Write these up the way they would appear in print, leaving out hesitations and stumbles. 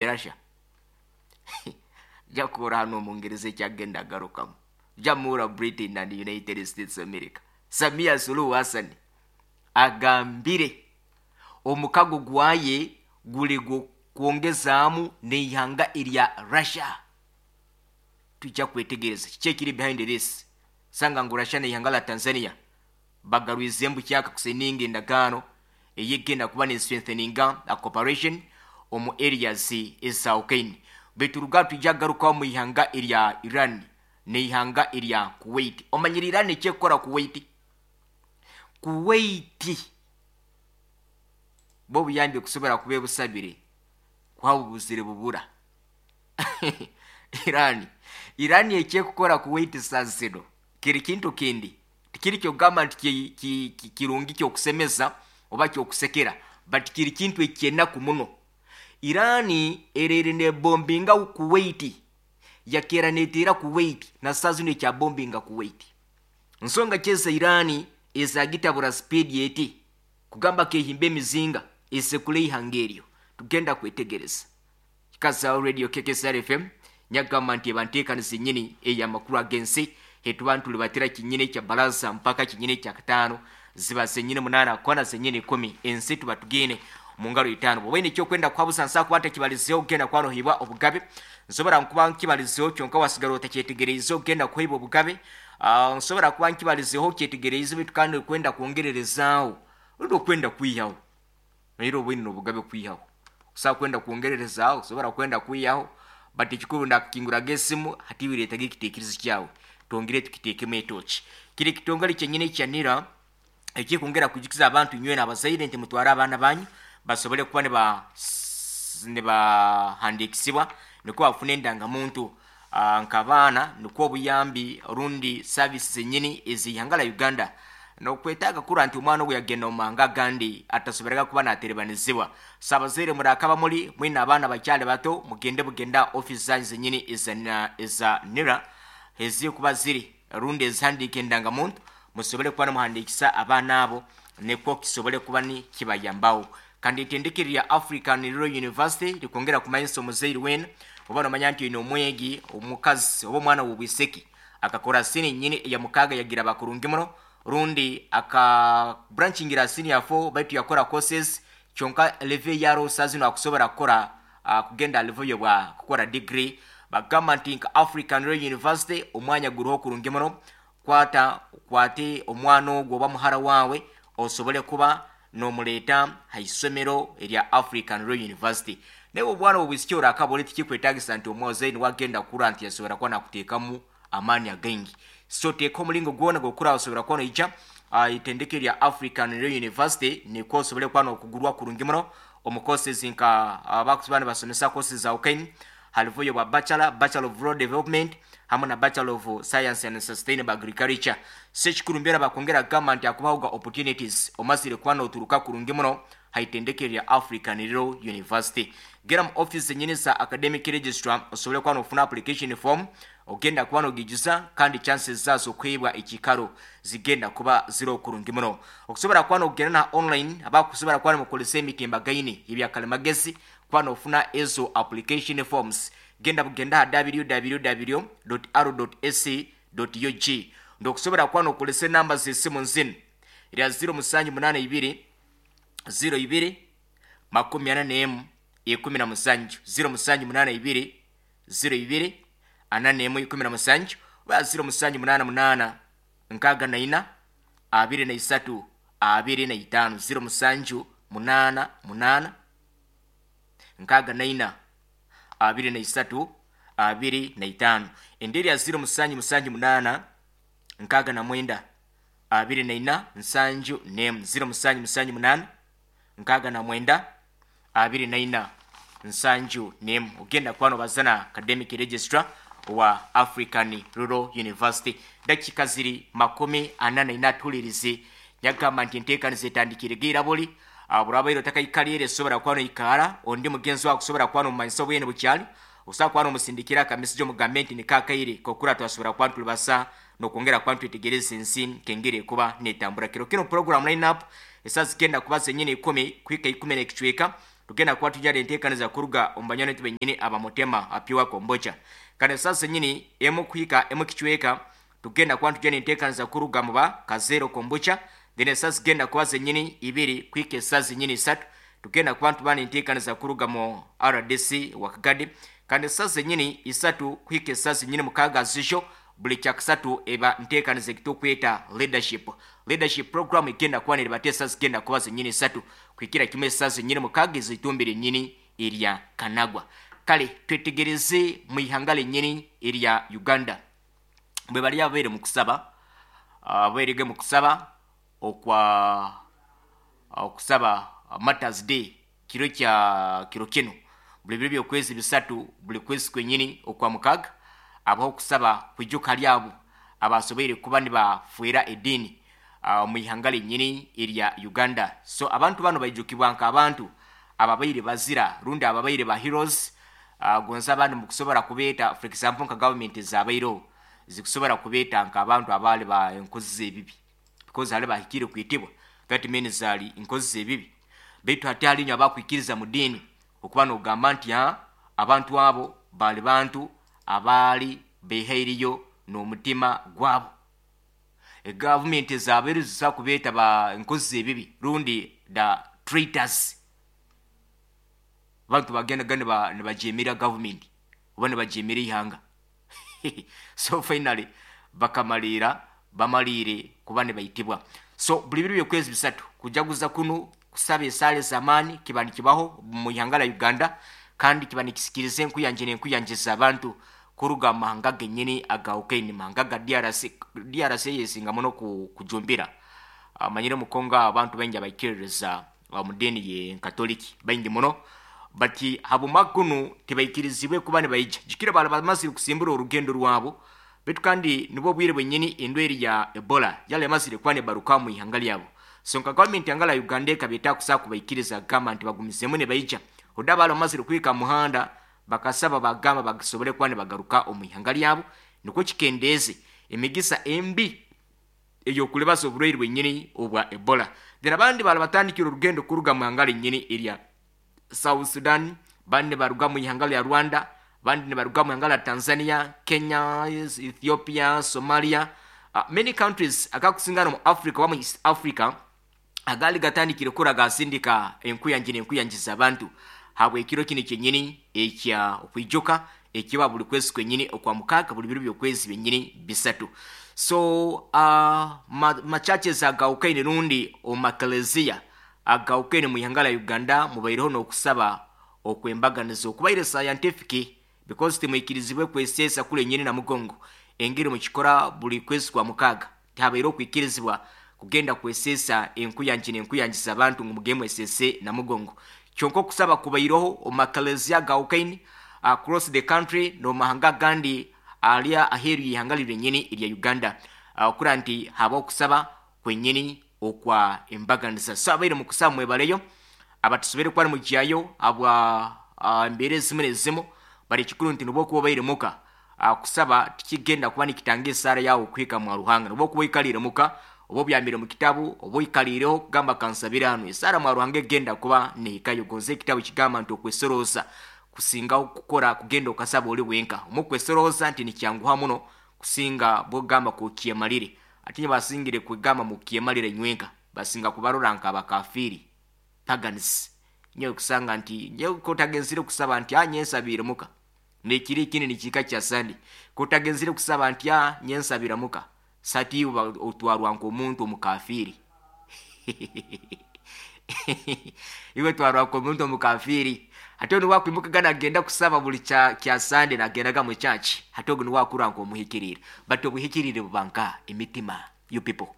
Russia jakuura hano omungereza ekyagenda agarukamu jamura Britain and United States America. Samia Suluhu Hassan agambire omukago gwaye guli kwongezaamu n'eihanga erya Russia. Tujja kwetegereza kiki ekiri behind this. Sanga ngu Russia n'eihanga la Tanzania bagarwize embu kyaka kuseninga endagaano eyegenda kuba ne strengtheninga a cooperation omu areas ezawukaine. Baitu ruga tujja garukaho mu ihanga erya Iran n'eihanga erya Kuwait. Omanyire Iran ekyekukora Kuwait? Kuwait bo obuyambi kusobora kuba ebusabire kuha bubuzire bubura. Iran ekyekukora Kuwait saa zino kiri kintu kindi, tikiri kyokugamba nti kirungi kyokusemeza oba kyokusekera, but kiri kintu ekyenaku muno. Iran erere nebombinga Kuwait, yakera neteera Kuwait, na saa zino ekyabombinga Kuwait. Nsonga kyeza Iran ezagitabura speed eti kugamba kehimba emizinga esekule ihanga eryo. Tugenda kwetegereza. Kikazaho Radio KKSR FM nyagamba nti ebanteekaniza ennyini ey'amakuru ag'ensi hetuba ntulibatira kinyini kya baraza mpaka kinyini kya kataano ziba zenyini 8 kona zenyini 10 ensi tuba tugine mu ngalo 5. Bw'oba ekyokwenda kuhabuza nsa kuba ntakibalizeho ogenda kwanohibwa obugabe, nsobora nkuba nkibalizeho kyonka wasigara otakyetegereize ogenda kuhibwa obugabe. Nsobora kuba nkibalizeho kyetegereize baitu kandi okwenda kwongererezaaho rundi okwenda kwihaho naire obwine obugabe kwihaho osobola kwenda kwongererezaaho osobola kwenda kwihaho, but ekikuru ndakukinguraga esimu hati bireetaga ekiteekerezo kyawe twongere tukiteekemu etoki. Kiri ekitongole kyenyini ekya NIRA ekikwongera kwijukiza abantu nywena abazaire nti mutware abaana banyu basobole kuba nibahandiikisibwa nikwo bafune endangamuntu nk'abaana, nikwo obuyambi rundi service zenyini ez'ihanga la Uganda. Nokwetaaga kura nti omwana ogu yagenda omu mahanga agandi atasoberaga kuba naterebanizibwa. So abazaire murakaba muri mwine abaana bakyali bato, mugende bugenda office zanyu zenyini eza NIRA ezikuba ziri rundi ezihandiika endangamuntu, musobole kuba nimuhandiikisa abaana abo nikwo kisobole kuba ni kibayambaho. Kandi itendekero lya African Rural University likwongera kumanyisa omuzaire wena oba nomanya nti oine omwegi omukazi oba omwana w'obwiseki akakora sini nyini eya mukaaga yagira bakurungi muno, rundi aka branchingira senior 4 baitu yakora courses kyonka level yaro saa zino akusobora kukora kugenda level yobwa kukora degree. Bagamba nti nka African Rural University omwanya guriho kurungi muno, kwata kwate omwana ogwo oba muhara wawe osobole kuba nomuleeta haisomero erya African Rural University. Naye obwana obwisiki orakaba tikikwetagisa nti omwozaire niwagenda kukura nti yasobora kuba nakuteekamu amaani againgi. So teeka omulingo gwona gwokura osobora kuba noija itendeke lya African Rural University nikwo osobole kuba nokugurwa kurungi muno omu courses nka abakuba nibasomesa courses za ukaini halivuyo bwa Bachelor of Rural Development hamwe na Bachelor of Science and Sustainable Agriculture. So ekikuru mbyera bakongera kugamba nti akubaho ga opportunities omazire kuba noturuka kurungi muno haitendeke lya African Rural University. Gera mu office zenyini za academic registrar osobole kuba nofuna application form ogenda kuba nogijuza, kandi chances zazo kwebwa ekikaro zigenda kuba ziro kurungi muno. Okusobora kuba nogenda na online abakusobora kuba nimukozesa emitimbagaine ebyakalimagezi kuba nofuna ezo application forms, genda bugenda ha www.r.ac.ug. Ndokusobora kuba nokozesa enamba z'esimu nzinu erya 0782 02 41 17 0782 02 41 17 oba 0788 64 23 25 0788 64 23 25. Enderi ya 0778 69 24 71 0778 69 24 71. Ogenda kuba nobazana academic registrar wa African Rural University. Dakika ziri 44 tulirize nyagamba nti enteekaniza etandikire geira buli burabaire otakaikalire esobora kuba noikara ondi mugenzi wawe akusobora kuba nomumanyisa obwene bukyali osobola kuba nomusindikira akamesegi omugambe nti nikakaire kokura twasobora kuba ntulibasa nokwongera kuba ntwetegereza ensi nkengeri ekuba netambura. Kiro kino program line up esaa zigenda kuba zenyini 10 kuhika 10 n'ekicweka. Tugenda kuba tujyara enteekaniza kuruga omu banywani baitu benyini abamutema apiwa kombocha. Kandi esaaha zenyini emu kuhika emu kicweka tugenda kuba tujyara enteekaniza kuruga mu ba kazero kombucha. Then esaaha zigenda kuba zenyini 2 kuhika esaaha zenyini 3 tugenda kuba tubana enteekaniza kuruga mu RDC wa Kagadi. Kandi esaaha zenyini 3 kuhika esaaha zenyini 6 zijo buli kyakusatu eba nteekaniza ekitukweta leadership program igenda kuba neribateesa zigenda kuba zenyini 3 kuhikira kimwe esaaha zenyini 6 ezitumbire nyini erya Kanagwa. Kale twetegereze mu ihanga lenyini erya Uganda bwe bali abaire mu kusaba, abairege mu kusaba okwa okusaba Martyrs Day kiro kya kiro kino buli biro by'okwezi 3 buli kwezi kwenyini okwa 6 abaho kusaba kwijuka lyabo abasoboire kuba nibafuera edini mu ihanga lenyini erya Uganda. So abantu bano baijukibwa nk'abantu ababaire bazira rundi ababaire ba heroes. Gonza abantu mukusobora kubeeta, for example nka government zabaireho zikusobora kubeeta nk'abantu abaali ba enkozi z'ebibi, because hali bahikire kwitibwa, that means ali enkozi z'ebibi. Baitu hati hali abakwikiriza mu dini okuba nogamba nti abantu abo bali bantu abaali behairiyo n'omutima gwabo. Egavumenti zabaire zisa kubeeta ba enkozi z'ebibi rundi the traitors, abantu bagendaga nibajemera gavumenti oba nibajemera ihanga. So finally bakamalira bamalire kuba nibaitibwa. So buli biro by'okwezi 3 kujaguza kuno kusaba esaale z'amaani kiba nikibaho mu ihanga la Uganda, kandi kiba nikisikiriza enkuyanje n'enkuyanjiza abantu kuruga mu mahanga genyini agawukaine, mahanga ga DRC. DRC yesinga muno kujumbira. Manyire mu Kongo abantu baingi abaikiririza mu dini ye Katoliki baingi muno, bati habuma kuno tibaikirizibwe kuba nibaija jikira bali bamazire kusimbura orugendo rwabo. Baitu kandi nibwo bwire bwenyini endweri ya Ebola yali yamazire kuba nibaruka mu ihanga lyabo. So nka gavumenti yangala Uganda ekabeta kusa kubaikiriza gamba nti bagumizemu nibaija oda bali bamazire kuhika muhanda bakasaba bagamba bagisobole kuba nibagaruka omu ihanga lyabo, nikwo kikendeeze emigisa embi ey'okulibaza oburwaire bwenyini obwa Ebola. Then abandi bali batandikire orugendo kuruga mu ihanga lyenyini erya South Sudan, bandi baruga mu ihanga lya Rwanda, bandi nibaruga mu ihanga lya Tanzania, Kenya, Ethiopia, Somalia, many countries akakusingana mu Africa oba mu East Africa agali gatandikire kura gasindika enkuyanji n'enkuyanjiza abantu habwe ekiro kino kyenyini ekya okwijuka ekiba buli kwezi kwenyini okwa 6 buli biro by'okwezi byenyini 3. So machurches agawukaine rundi omakelezia agawukaine mu ihanga lya Uganda mubaireho n'okusaba okwembaganiza okubaire scientific, because timwikirizibwe kweseesa kule nyini na mugongo engeri mukikora buli kwezi kwa 6 tihabaire okwikirizibwa kugenda kweseesa enkuyanji n'enkuyanjiza abantu ngu mugende mwesese na mugongo. Kyonka okusaba kubaireho omakelezia agawukaine across the country n'omahanga gandi alya aheeru y'ihanga lyenyini erya Uganda, okura nti haba okusaba kwenyini okwa embaganiza. So abaire mu kusaba mwebaleyo abatusobere kuba nimugyayo abwa embeera ezimu n'ezimu, bari ekikuru nti nibwo okuba obaire muka kusaba tikigenda kuba nikitanga esaara yawe okuhika mwa Ruhanga. Nibwo okuba oikalire muka oba obyamire mu kitabu oba oikalireho kugamba kansabire hanu, esaara mwa Ruhanga egenda kuba nehikayo. Gonza ekitabu kigamba nti okwesorooza kusinga kukora kugenda okasaba oli wenka. Omu kwesorooza nti nikyanguha muno kusinga bwogamba kukyemalire. Ate basingire kwegamba mukyemalire nywenka, basinga kubarora nka abakafiri, pagans. Nyowe kusanga nti nyowe kotagenzire kusaba nti nyensabire muka nekiri ikindi nikika kya sandi, kotagenzire kusaba nti nyensabira muka sati otwarwa nk'omuntu omukafiri. Iwe twarwa nk'omuntu omukafiri. Ate ono wakwimukaga nagenda kusaba buli kya Sunday nagendaga mu church, ate ogwo niwakura nk'omuhikirire. But obuhikirire buba nka emitima, you people.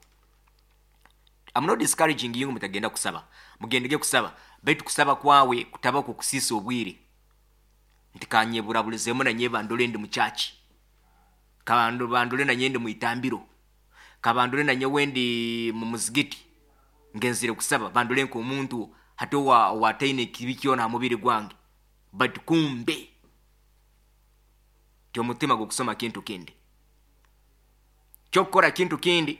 I'm not discouraging you mutagenda kusaba, mugendege kusaba, baitu kusaba kwawe kutaba kukusisa obwire nti kanyeburaburizemu nanye bandole ndi mu church, bandole nanye ndi mu itambiro, kabandole nanye wendi mu muzigiti ngenzire kusaba, bandole nk'omuntu hati owataine ekibi kyona ha mubiri gwange. But kumbe ti omutima gwokusoma kintu kindi, kyokukora kintu kindi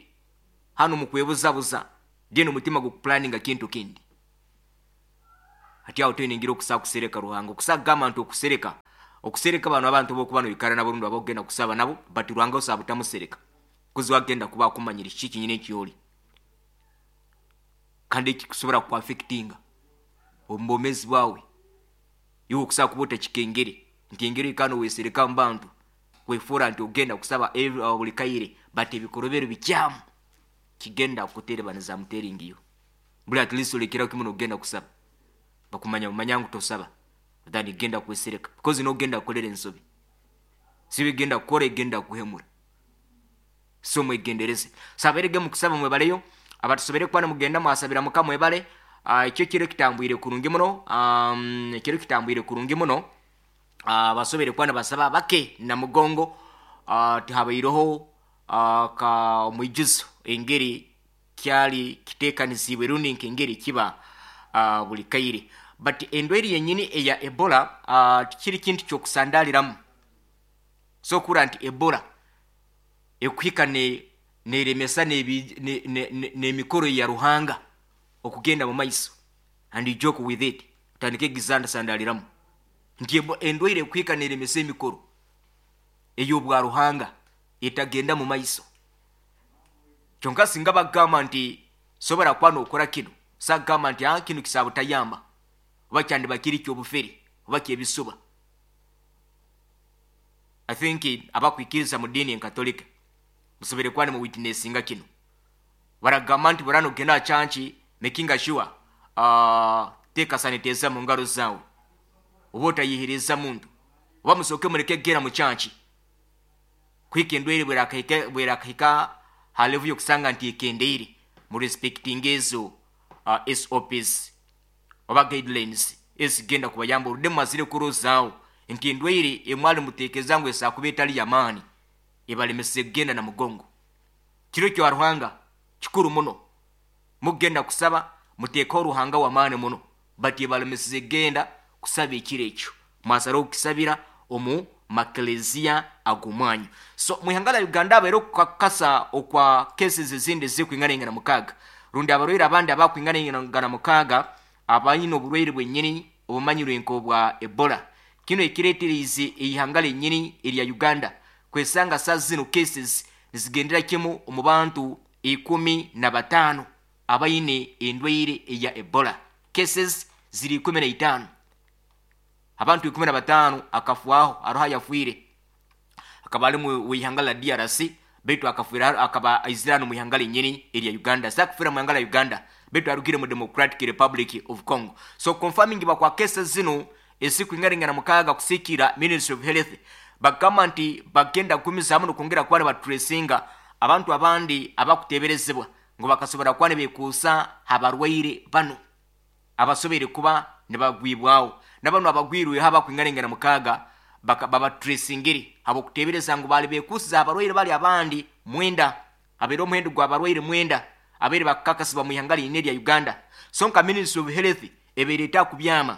hano mukwebuzabuza, then omutima gukuplanninga kintu kindi. Hati aho toine engeri okusobola kusereka Ruhanga. Okusobola kugamba nti okusereka, okusereka banu abantu bokuba noikara nabo rundi abokugenda kusaba nabo, but Ruhanga osobola butamusereka. Kuzi wagenda kuba akumanyire kiki kinyini ekyoli. Kandi ekikusobora kuaffectinga omu bwomeezi bwawe. Iwe okusobola kuba otakikengere nti engeri oikara nowesereka mu bantu, wefuura nti ogenda kusaba buli kaire, but ebikorobero bikyamu kigenda kukuterebaniza I'm telling you. Buli at least olekeraho kimu nogenda kusaba. Bakumanya bamanya ngu tosaba than genda kwesereka because nogenda kukolera ensobi. Sibi genda kukora egenda kuhemura. So mwegendereze. Saberege mukusaba mwebaleyo, abatusobere kuba mugenda mwasabira Mukama mwebale. Ekyo kiro kitambwire kurungi muno, ekiro kitambwire kurungi muno. Basobere kuba nibasaba bake na mugongo, tihabaireho ka omwijuzo engeri kyali kitekanizibwe rundi nk'engeri kiba buli kaire. But endwaire yenyini eya Ebola tikiri kintu ky'okusandaliramu. So okura nti Ebola ekuhika neremesa n'emikoro ya Ruhanga okugenda mu maiso, and you joke with it, otandike egizandasandaliramu nti endwaire ekuhika neremesa emikoro ey'obwa Ruhanga etagenda mu maiso. Kyonka singa bagamba nti sobora kuba nokora kino, sagamba nti kino kisabutayamba oba kyandiba kiri ky'obufere oba kyebisuba. I think abakwikiriza mu dini enkatolika musobere kuba nimu witnessinga kino. Baragamba nti burano genda chanchi making sure teka sanitizer mu ngaro zawe, oba otayihiriza muntu, oba musoke mureke gera mu chanchi kwika endwaire bwerakahika ha level yokusanga nti ekendeire, mu respecting ezo SOPs oba guidelines ezigenda kubayamba oludde mumazire kurozaawo nti endwaire emwali muteekeza ngu esakuba etali yamaani ebalemese kugenda na mugongo. Kiro kya Ruhanga kikuru muno, mugenda kusaba muteekaho Ruhanga w'amaani muno, but ebalemesize kugenda kusaba ekiro ekyo, mwasara okukisabira omu makelezia ag'omwanyu. So mwihanga la Uganda abaire okukakasa okwa cases ezindi ezirikwinganaingana 6, rundi abarwaire abandi abakwinganaingana 6 abaine oburwaire bwenyini obumanyirwe nk'obwa Ebola. Kino ekireeteriize eihanga lyenyini erya Uganda kwesanga saa zino cases nizigendera kimu omu bantu 15 abaine endwaire eya Ebola. Cases ziri 15. Abantu 15 akafwaho, aroho yafiire akaba ali mu ihanga la DRC, baitu akafiira akaba aizira hano mu ihanga lyenyini erya Uganda. Sakufira mu ihanga la Uganda, baitu arugire mu Democratic Republic of Congo. So confirming bakwa cases zino esikwingaringana 6 kusikira Ministry of Health bagamba nti bagenda kugumizamu n'okwongera kuba nibatracinga abantu abandi abakuteberezebwa ngu bakasobora kuba nibekuusa abarwaire bano abasoboire kuba nibagwibwaho. Nabano abagwirweho abakwingaringana 6 babatracingire abokutebereza ngu bali bekuusiza abarwaire bali abandi 9, abaire omuhendo gw'abarwaire 9 abaire bakakasibwa mu ihanga lyine erya Uganda. So nka Ministry of Health ebaire etakubyama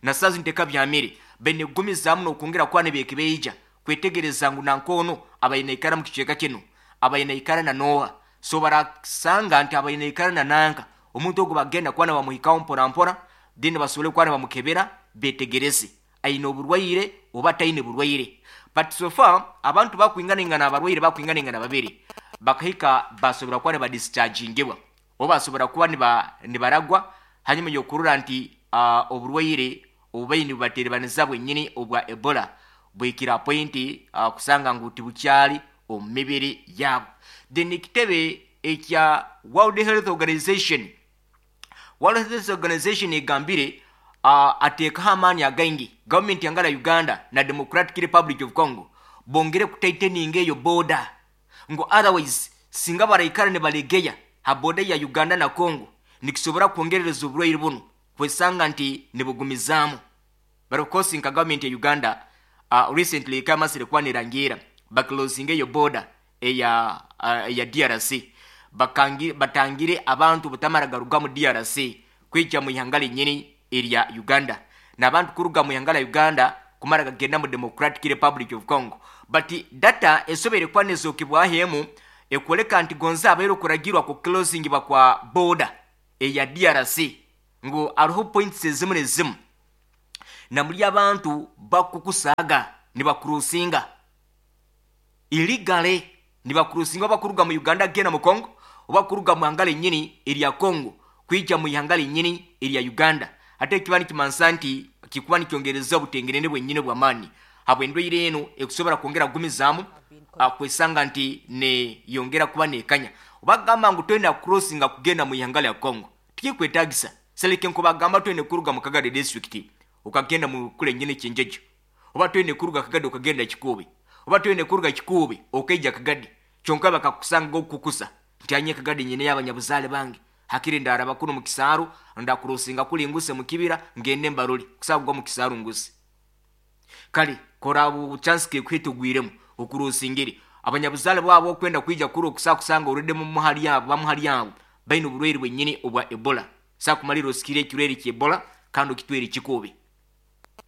na sazi ntekabyamire, baine kugumizamu n'okwongera kuba nibeekebeija kwetegereza ngu nankono abaine ikara mu kicweka kino, abaine ikara na Noha. So barasanga nti abaine ikara na nanka omuntu ogwo bagenda kuba nibamuhikaho mpora mpora, then basobole kuba nibamukebera betegereze aine oburwaire oba taine burwaire. But so far abantu bakwinganingana abarwaire bakwinganingana 2 bakahika basobora kuba nibadischargingibwa oba basobora kuba nibaragwa hanyuma y'okurora nti oburwaire obubaine bubaterebaniza bwenyini obwa Ebola bwikira point kusanga ngu tibukyali omu mibiri yabo. Then ekitebe ekya World Health Organization, World Health Organization egambire ateekaho amaani againgi gavumenti yangala Uganda na Democratic Republic of Congo bongere kutaiteninga eyo border, ngu otherwise singa baraikara nibalegeya ha border ya Uganda na Congo nikisobora kwongerereza oburwaire buno kwesanga nti nibugumizaamu. But of course nka gavumenti ya Uganda recently ekamasire kuba nerangira baclosinga eyo border eya DRC, batangire abantu butamara garuga mu DRC kwijja mu ihanga lyenyini erya Uganda, n'abantu kuruga mu ihanga la Uganda kumara gagenda mu Democratic Republic of Congo. But data esobere kuba nezokibwahemu ekwoleka nti gonza abaire okuragirwa ku closing bakwa border eya DRC. Ngu hariho points ezimu n'ezimu namuri abantu bakukusaaga nibakurusinga illegally, nibakurusinga bakuruga mu Uganda kugenda mu Congo, oba kuruga mu ihanga lenyini erya Congo kwija mu ihanga lenyini erya Uganda. Ate ekiba nikimansa nti kikuba nikyongereza obutengenene bwenyini bw'amaani habw'endwaire enu ekusobora kwongera kugumizaamu kwesanga nti neyongera kuba nekanya. Obagamba ngu toine kucrossinga kugenda mu ihanga lya Congo, tikikwetagisa. Seleke nkubagamba toine kuruga mu Kagadi district ukagenda mu kule nyini Kyenjejo, oba toine kuruga Kagadi ukagenda Kikuubi, oba toine kuruga Kikuubi ukaija Kagadi, kyonka bakakusanga okukukusa nti anye Kagadi nyine y'abanyabuzaale bange, hakiri ndaraba kuno mu kisaaru ndakurosinga kuli nguse mu kibira ngende mbaroli kusagwa mu kisaaru nguse. Kale kora chance ke kwitugwiremu okurosingere abanyabuzaale bwabo okwenda kwija kuri okusakusanga orede mu muhali yabo bamuhali yabo baine oburwaire bwenyini obwa Ebola. Sakumalira osikire ekirwaire kya Ebola kandi okitwere Kikuubi.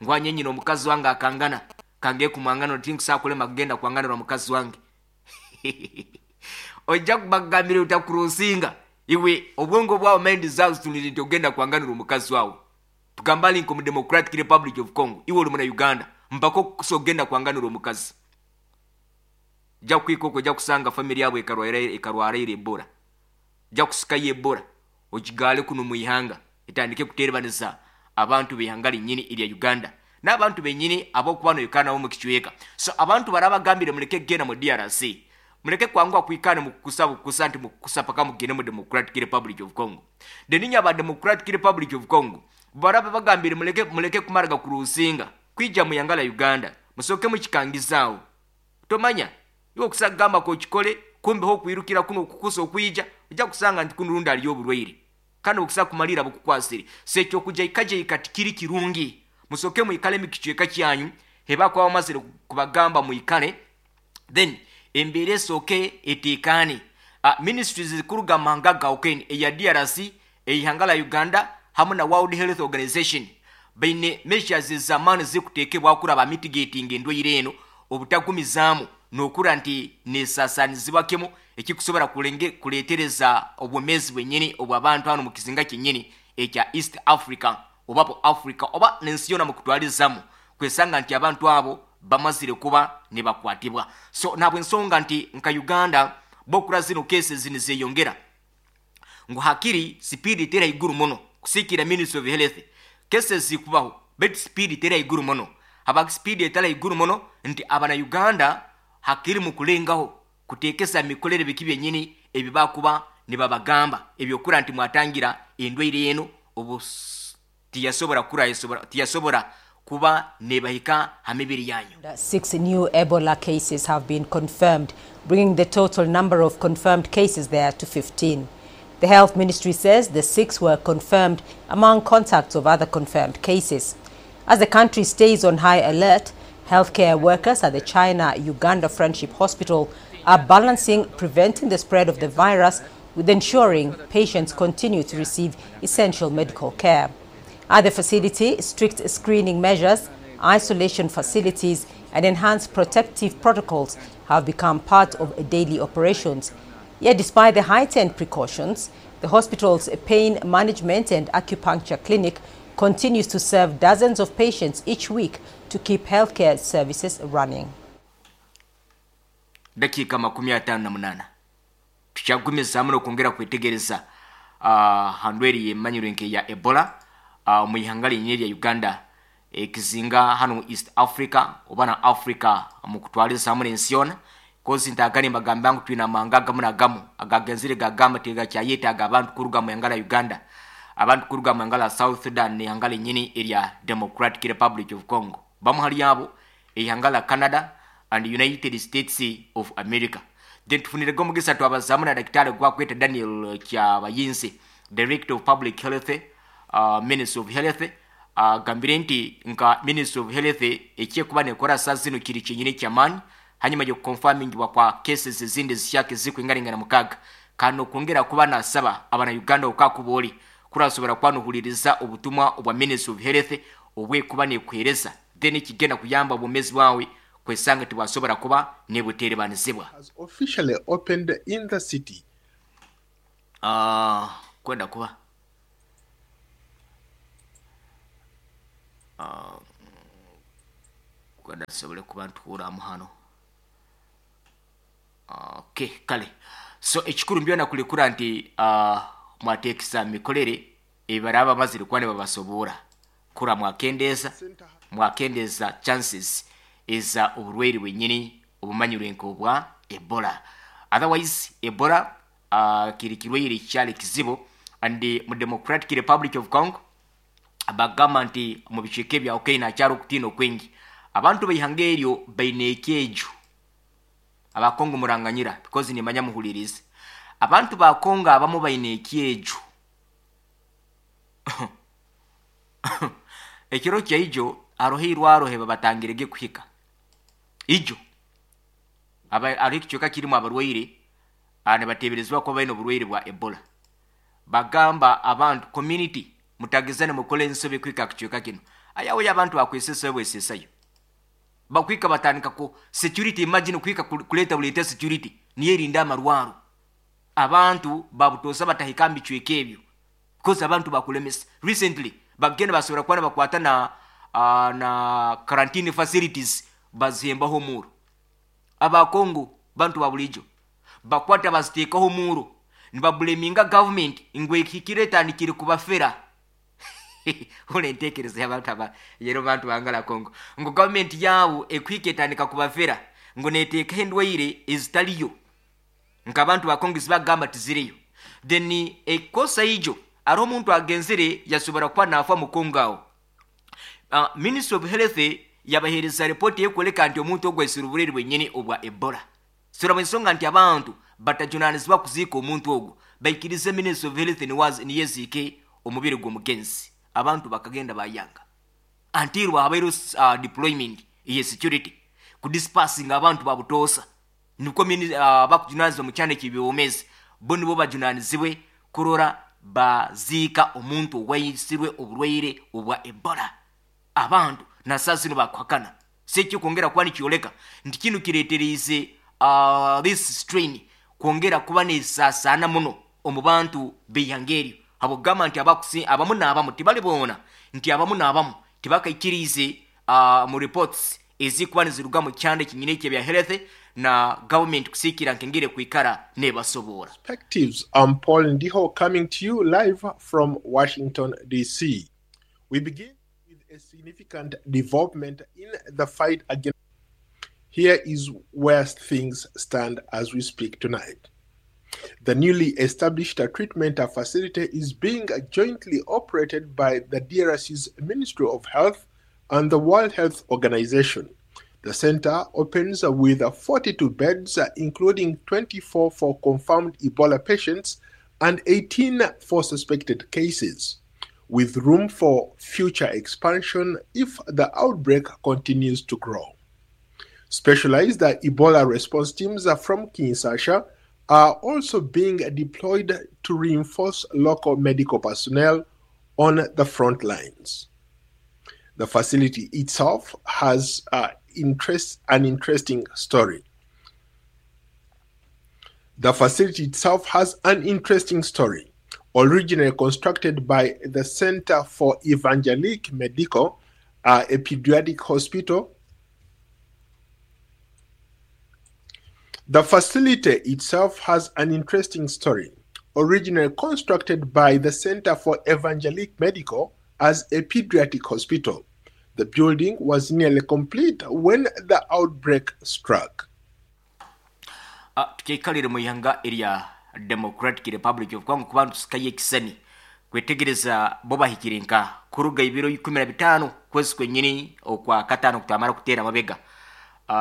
Ngwanye nyina omukazi wange akangana kange kumwangana tinkusakulema kugenda kwanganira omukazi wange. Ojja kubagambira otakurosinga iwe obwongo bwawe mind zawe zitunire nti ogenda kwanganira omukazi wawe. Tugamba ali nko mu Democratic Republic of Congo, iwe oli muna Uganda mpaka okukusa ogenda kwanganira omukazi. Jja kwika okwo ojja kusanga family yabo ekarwara Ebola. Jja kusikayo Ebola okigaale kuno mu ihanga etandike kuterebaniza abantu b'ihanga linyini erya Uganda n'abantu benyini abokuba noyikana nabo mu kicweka. So abantu barabagambire muleke kugenda mu DRC, muleke kwanguha kwikana mu kukusa bukusa nti mukukusa paka mugende mu Democratic Republic of Congo. Then aba Democratic Republic of Congo baraba bagambire muleke kumaraga kurusinga kwija mu ihanga la Uganda, musoke mukikangizaawo. Tomanya iwe okusagamba ko kikole kumbe ho kwirukira kuno kukusa okwija ojja kusanga nti kuno rundi aliyo oburwaire kandi okusa kumalira bukukwasire. So ekyo kujja ikaje ikatikiri kirungi, musoke mwikale mikicweka kyanyu heba kwa bamazire kubagamba mwikale, then embeera esooke eteekaane. Ministries zikuruga mahanga gawukene eya DRC, eihanga la Uganda hamwe na World Health Organization baine measures ez'amaani zikuteekebwa kuraba mitigating endwaire eno obutagumizaamu n'okura nti nesasanizibwa kimu ekikusobola kuleetereza obwomeezi bwenyini obw'abantu hano mu kizinga kyennyini ekya East Africa oba po Africa oba n'ensi yona mu kutwalizamu, kwesanga nti abantu abo bamazire kuba ne bakwatibwa. So nabwe ensonga nti nka Uganda bokura zino cases nizeyongera ngu hakiri speed tera iguru muno kusikira Ministry of Health cases zikubaho but speed tera iguru muno haba speed etala iguru muno nti abana Uganda hakiri mu kulengaho kutekesa mikolere biki byenyini ebibakuba nibabagamba ebyokura nti mwatangira endwaire eno obu tiyasobora kura tiyasobora kuba nebahika ha mibiri yanyu. 6 new Ebola cases have been confirmed, bringing the total number of confirmed cases there to 15. The health ministry says the 6 were confirmed among contacts of other confirmed cases. As the country stays on high alert, healthcare workers at the China-Uganda Friendship Hospital are balancing preventing the spread of the virus with ensuring patients continue to receive essential medical care. At the facility, strict screening measures, isolation facilities, and enhanced protective protocols have become part of daily operations. Yet despite the heightened precautions, the hospital's pain management and acupuncture clinic continues to serve dozens of patients each week to keep healthcare services running. Dakika 58 tukyagumizaamu n'okwongera kwetegereza handweri yemanyirwe nke ya Ebola mu ihanga linye lya Uganda ekizinga hano East Africa oba na Africa mu kutwaliza n'ensi yona. Kozi ntagane mbagamba ngu twina amahanga agamu nagamu agagenzire gagamba tigakyayetaaga abantu kuruga mu ihanga lya Uganda, abantu kuruga mu ihanga lya South Sudan n'ihanga linyini erya Democratic Republic of Congo, bamu hali abo ihanga lya Canada and United States of America. Then tufunirego omugisa twabazamu na Daktari gwakweta Daniel Kyabayinze, Director of Public Health, Ministry of Health, agambire nti nka Ministry of Health ekyekuba nekora saa zino kiri kyenyini kyamaani hanyuma y'okuconfirmingibwa kwa cases ezindi zihyaka ezikuingaringana mukaga, kandi okwongera kuba nasaba abana Uganda okakuba kurasobora kwanuhuliriza obutumwa obwa Ministry of Health obwekuba nekuhereza, then ekigenda kuyamba obwomezi bwawe kwesanga tibwasobora kuba nebuterebanizibwa. Has officially opened in the city. Kwenda kuba Kwenda tusobole kuba ntuhuramu hano. Okay, kale so ekikuru mbyona kulikura nti mwateekesa mikorere ebaraba bamazire kuba nibabasoboora kura mwakendeeza chances eza oburwaire bwenyini obumanyirwe nk'obwa Ebola. Otherwise Ebola kiri kirwaire kyali kizibu, and mu Democratic Republic of Congo bagamba nti mu bicweka ebya Okaina hakyari okutiina okwingi. Abantu baihanga eryo baine ekyeju. Abakongo muranganyira because nimanya muhulirize. Abantu ba Kongo abamu baine ekyeju. Ekiro kyaijo haroho irwaro hebabatangirege kuhika. Ijo hariho ekicweka kirimu abarwaire nibateeberezebwa kuba baine oburwaire bwa Ebola. Bagamba abantu community mutagezane mukole ensobi kuhika aha kicweka kinu. Ayawe abantu bakwesesayo bwesesayo. Bakwika batandika ku security, imagine kuhika kuleta buleta security niyo erinda amarwaro. Abantu babutosa batahika mu bicweka ebyo because abantu bakulemesa. Recently bagenda basobora kuba nibakwata na quarantine facilities bazihembaho omuro. Abakongo bantu ba bulijo bakwata baziteekaho omuro nibabuleminga government ngu ehikire etandikire kubafera. Hula enteekereza y'abantu aba yero bantu bangala Kongo ngu government yaabo ekuhika etandika kubafera ngu neteekaho endwaire ezitaliyo nk'abantu ba Kongo ezibagamba tiziriyo. Then ekosa ijo hariho omuntu agenzire yasobora kuba naafa mu Kongo aho. Ministry of Health yabaheereza report ekwoleka nti omuntu ogwo aisire oburwaire bwenyini obwa Ebola. Turaba ensonga nti abantu batajunanizibwa kuziika omuntu ogwo, baikirize Ministry of Health niyo eziike omubiri gw'omugenzi. Abantu bakagenda bayanga until habaire deployment ye security kudispersinga abantu babutoosa. Nukwo bakujunanizibwa mu kyana eky'ebyobwomeezi bo nibo bajunanizibwe kurora baziika omuntu owaisirwe oburwaire obwa Ebola. Abantu na saa zino bakuhakana. Si ekikwongera kuba nikyoleka nti kinu kireeteriize this strain kwongera kuba nesaasaana muno omu bantu b'eihanga eryo. Habwokugamba nti abamu n'abamu tibali boona, nti abamu n'abamu tibakaikiriize mu reports ezikuba niziruga mu kyanda ekinyina eky'ebya health na government kusiikira nk'engeri kwikara nebasoboora. Perspectives. I'm Paul Ndiho coming to you live from Washington, D.C. We begin with a significant development in the fight against. Here is where things stand as we speak tonight. The newly established treatment facility is being jointly operated by the DRC's Ministry of Health and the World Health Organization. The center opens with 42 beds, including 24 for confirmed Ebola patients and 18 for suspected cases, with room for future expansion if the outbreak continues to grow. Specialized Ebola response teams from Kinshasa are also being deployed to reinforce local medical personnel on the front lines. The facility itself has an interesting story. The facility itself has an interesting story. Originally constructed by the Center for Evangelic Medical, a pediatric hospital. The facility itself has an interesting story. Originally constructed by the Center for Evangelic Medical as a pediatric hospital, the building was nearly complete when the outbreak struck. Tukeikalire mu ihanga erya Democratic Republic of Congo kuba ntusikayo ekisani kwetegereza bo bahikire nka kuruga ibiro 15 kwezi kwenyini okwa katano kutamara kuteera mabega.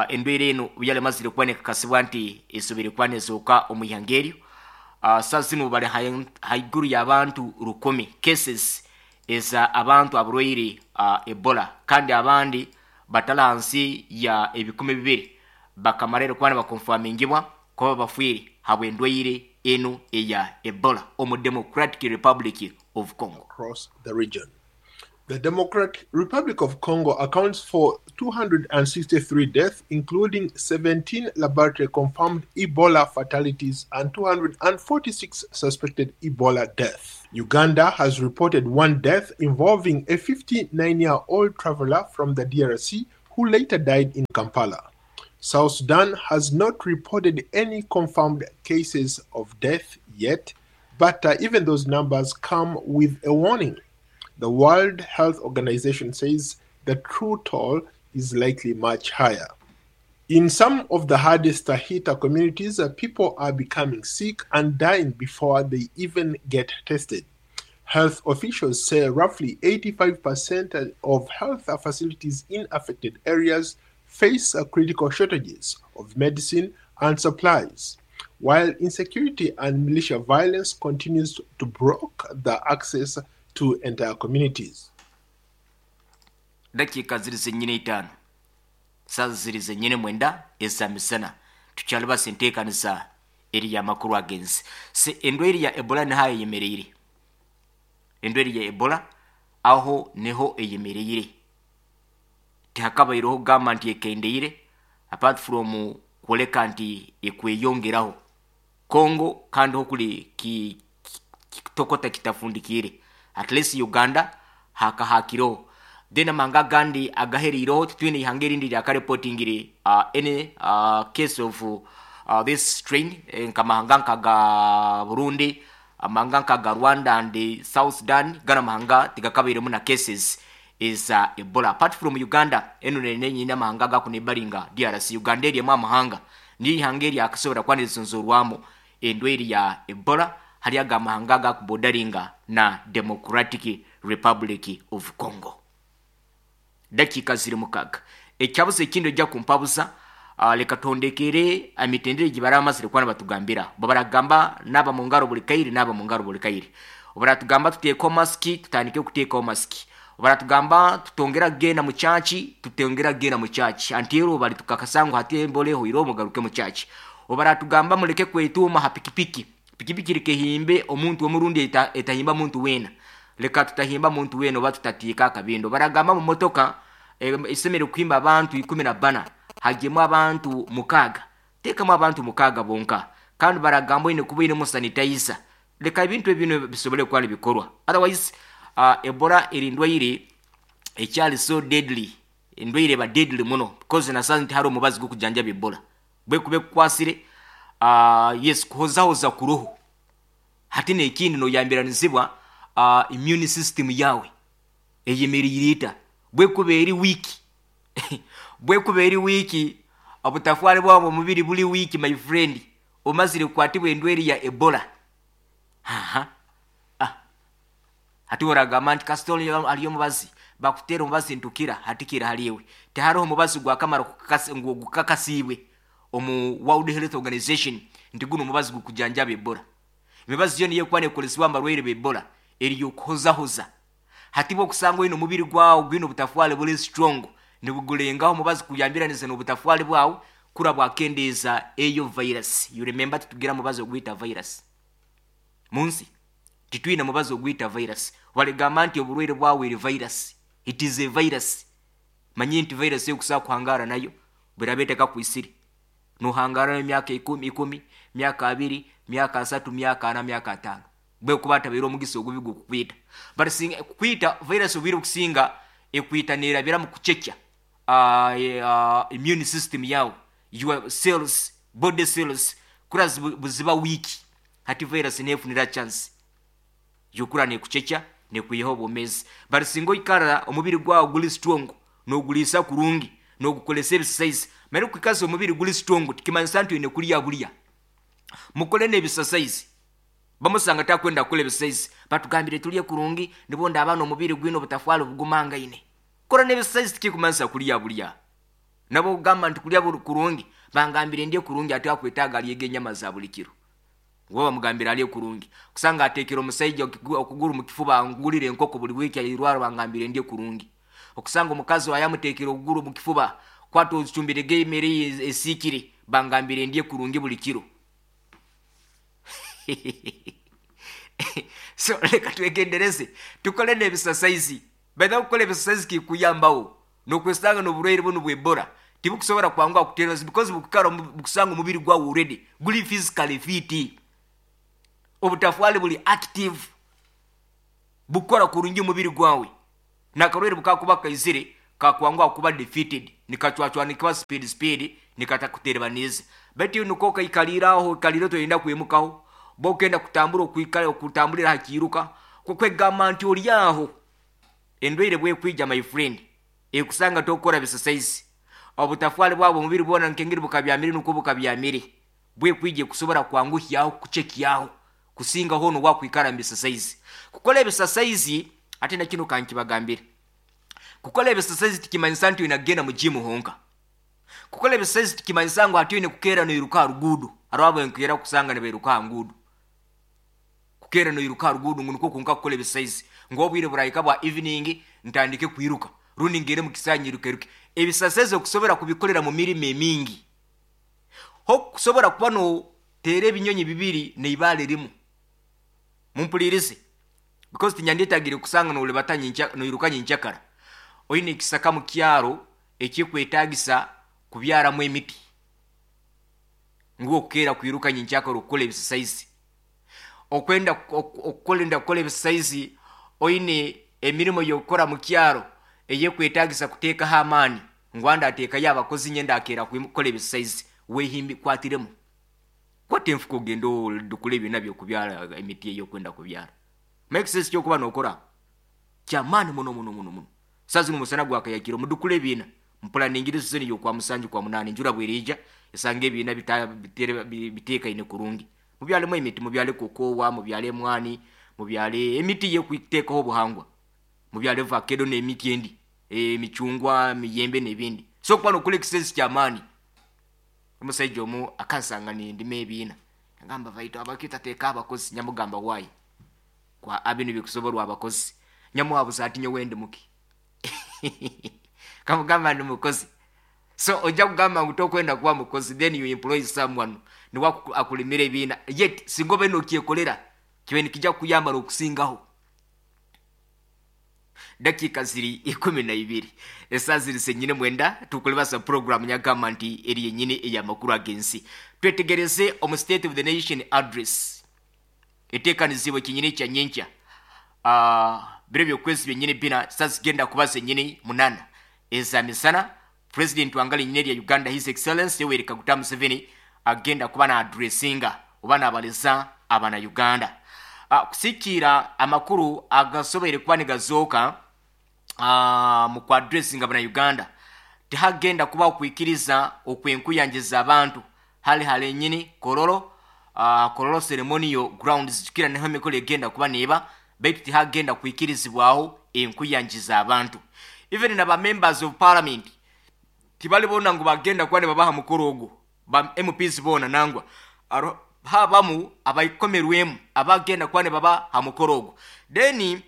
Endwaire eno yalemazire kuba nekakasibwa nti esobire kuba nezooka omu ihanga eryo. Saa zino bali haiguru y'abantu 10 cases eza abantu abarwaire Ebola, kandi abandi batali hansi ya 2,000 bakamara kuba nibakonfamingibwa kuba bafiire habw'endwaire eno eya Ebola omu Democratic Republic of Congo. Across the region. The Democratic Republic of Congo accounts for 263 deaths, including 17 laboratory confirmed Ebola fatalities and 246 suspected Ebola deaths. Uganda has reported one death involving a 59 year old traveler from the DRC who later died in Kampala. South Sudan has not reported any confirmed cases of death yet, but even those numbers come with a warning. The World Health Organization says the true toll is likely much higher. In some of the hardest hit communities, people are becoming sick and dying before they even get tested. Health officials say roughly 85% of health facilities in affected areas face critical shortages of medicine and supplies, while insecurity and militia violence continues to block the access to entire communities. Dakiika ziri zenyini 5, saaza ziri zenyini 9 ezamisana. Tukyalibasa enteekanisa eri amakuru agenzi se endwaire ya Ebola niho eyemereire. Endwaire ya Ebola aho niho eyemereire, tihakabaireho kugamba nti ekendeire, apart from kwoleka nti ekweyongeraho Congo, kandi ho kuli kitokota kitafundikire. At least Uganda hakahakireho, then amahanga agandi agaheriireho. Titwine ihanga erindi ryakareportingire any case of this strain, nkamahanga nkaga Burundi, amahanga nkaga Rwanda and South Sudan. Gana amahanga tigakabairemu na cases eza Ebola apart from Uganda. Eno nenyine amahanga gakunebaringa DRC. Uganda eriemu amahanga, niyo ihanga eryakasobora kuba nirizonzorwamu endwaire ya Ebola hali aga amahanga gakubodaringa na Democratic Republic of Congo. Dakiika ziri 6. Ekyabuza ekindi ojja kumpabuza. Leka tondekere emitendera gye baramazire kuba nibatugambira. Bo baragamba naaba mu ngaro buli kaire, naaba mu ngaro buli kaire. Baratugamba tuteekaho masiki, tutandike kuteekaho masiki. Baratugamba tutongera kugenda mu kyaki, tutongera kugenda mu kyaki antiro bali tukakasa ngu hati embora ehoire, mugaruke mu kyaki. Baratugamba muleke kwetuuma ha pikipiki, pikipiki likehimbe omuntu omurundi etahimba muntu weena, leka tutahimba muntu weena oba tutatiika akabindo. Baragamba mu motoka esemere kuhimba abantu 14, hagemu abantu 6, teekamu abantu 6 bonka. Kandi baragamba oine kuba oinemu sanitizer. Leka ebintu ebino bisobole kuba nibikorwa, otherwise Ebola eri ndwaire ekyali so deadly. Endwaire eba deadly muno because nasanze nti hariho omubazi gw'okujanjaba Ebola bwekuba ekukwasire. Yes, kuhozahoza kuroho hati nekindi noyambiranizibwa immune system yawe eyemeriire ita. Bwekuba eri weak, bwekuba eri weak, obutafwari bwawe omubiri buli weak, my friend, omazire kukwatibwa endwaire ya Ebola. Haha, hati oragamba nti kasita aliyo omubazi bakuteera omubazi ntukira hatikira haliwe. Tihariho omubazi gwakamara ngu gukakasiibwe omu World Health Organization nti guno omubazi gukujanjaba Ebola. Emibazi yo niyo ekuba neekozesibwa mu barwaire ba Ebola eri y'okuhozahoza. Hati bwokusanga oine omubiri gwawe gwine obutafwari buri strong, nibugurengaho omubazi kuyambiraniza n'obutafwari bwawe kura bwakendeeza eyo virus. You remember, titugira mubazi ogwita virus munsi, titwine mubazi ogwita virus. Baligamba nti oburwaire bwawe eri virus, it is a virus. Manye nti virus ekusobola kuhangara nayo bweraaba etakakwisire, nohangara nayo emyaka 10 10, myaka 20, myaka 30, myaka 40, myaka 50, bwekuba atabaire omugisa ogubi gukukwita. But singa kukwita virus obwire okusinga ekwita nerabira mu kucekya immune system yawe, your cells, body cells kura buziba weak. Hati virus nefunira chance yokura nekucekya nekwihaho obwomeezi. But singa oikara omubiri gwawe guri strong, noguliisa kurungi, nogukoresa ebisasaizi. Mara okwikaza omubiri guri strong tikimanyisa nti oine kurya burya, mukore n'ebisasaizi. Bamusanga takwenda kukora ebisasaizi, batugambire turye kurungi nibwo ndaaba n'omubiri gwine obutafwari bugumangaine. Kora n'ebisasaizi tikikumanyisa kurya burya. Nabo okugamba nti kurya kurungi, bangambire ndye kurungi, ate akwetaaga aryege enyama za buli kiro. Ngo bamugambira arye kurungi, kusanga atekera omusaija okuguru mu kifuba, ngulire enkoko buli wiiki ayirwara, bangambire ndye kurungi. Okusanga omukazi wayamutekera okuguru mu kifuba, kwata ozicumbirege emere esiikire, bangambire ndye kurungi buli kiro. So leka twegendereze, tukole n'ebisasaizi. Baita kukora ebisasaizi kikuyambaho nokwesanga n'oburwaire bunu bw'Ebola tibukusobora kwanguha kuteera because bukukara bukusanga omubiri gwawe already guli physically fit, obutafwali buli active, bukora kurungi omubiri gwawe, nakarwaire bukakuba kaizire kakwanguha kuba defeated, nikacwacwanikibwa speed speed, nikatakuterebaniza. Baitu niko kaikaliraho ikalire toyenda kwimukaho, bokenda kutambura okwikala okutambulira hakiruka kwegamba nti oli aho endwaire bwekwija, my friend, ekusanga tokora bisasaizi, obutafwali bwabo omubiri bwona nkengeri bukabyamire nuko bukabyamire, bwekwija kusobora kwanguhyaho kuchekyaho kusinga hono wakwikara mu bisasaizi. Kukola ebisasaizi ate na kino kankibagambire, kukola ebisasaizi tikimanyisa nti oyina mu gym honka. Kukola ebisasaizi tikimanyisa ngu ati oyine kukeera noiruka ha ruguudo. Hariho abenkeera kusanga nibairuka ha nguudo, kukeera noiruka ha ruguudo ngu nikwo kunka kukola ebisasaizi, ngu obwire burahika bwa evening ntandike kwiruka rundi ngere mu kisaayi nyirukeruke. Ebisasaizi okusobora kubikolera mu mirimo emingi, ho kusobora kuba noteera ebinyonyi bibiri neibaale rimu. Mumpulirize, because tinyandyetagire kusanga nolibata noiruka nyenkyakara. Oyine ekisaka mu kyaro ekikwetagisa kubyaramu emiti, ngu okukeera kwiruka nyenkyakara okukola ebisasaizi. Okwenda okukolenda kukola ebisasaizi, oyine emirimo y'okukora mu kyaro eyekwetagisa kuteekaho amaani, ngu andi ateekayo abakozi nyenda akeera kukola ebisasaizi. Wehimbi kwatiremu, kwata enfuka ogende odukule ebyona byokubyara emiti eyokwenda kubyara. Make sense kyokuba nokora kyamaani muno muno muno muno. Saa zino omusana gwakayakire, omudukule ebiina mpulaningire sizoni y'okwa 7 kwa 8, enjura bwerija esanga ebiina biteekaine kurungi. Mubyalemu emiti, mubyale kokowa, mubyale emwani, mubyale emiti yekuteekaho obuhangwa, mubyale vakedo n'emiti endi, emicungwa, emiyembe n'ebindi. So kuba nokola ekisezi kyamaani. Omusaija omu akansanga nindima ebiina, agamba baitu abakita teeka abakozi. Nyamugamba wayi kwa abinu bikusoborwa abakozi. Nyamuhabuza ati nyowe ndi muki? Kamugamba ndi mukozi. So ojja kugamba ngu tokwenda kuba mukozi, then you employ someone niwe akulimira ebiina, yet singa obe nokyekolera kibe nikijja kukuyamba n'okusingaho. Dakika ziri 12, esaa ziri senyine 9, tukulibasa program nyagamba nti eri yenyini ey'amakuru ag'ensi. Twetegereze omu State of the Nation Address eteekanizibwe kinyini kya nyenkya, biro byokwezi byenyini 4, saa zigenda kuba zenyini 8 eza misana. President wanga linyini lya Uganda, His Excellence Yoweri Kaguta Museveni, agenda kuba na addressinga oba nabaleza abana Uganda. Kusikiira amakuru agasoboire kuba nigazooka, mu kuaddressinga abana Uganda tihagenda kubaho kwikiriza okwenkuyangiza abantu hali halenyini Kololo, Kololo Ceremonial Grounds, jukira niho emikoro egenda kuba neeba, baitu tihagenda kwikirizibwaho enkuyangiza abantu. Even naba members of parliament tibali bona ngu bagenda kuba nibabaha mukoro ogwo, ba MPs bona nangwa habamu abaikomerwemu abagenda kuba nibaba ha mukoro ogwo. Then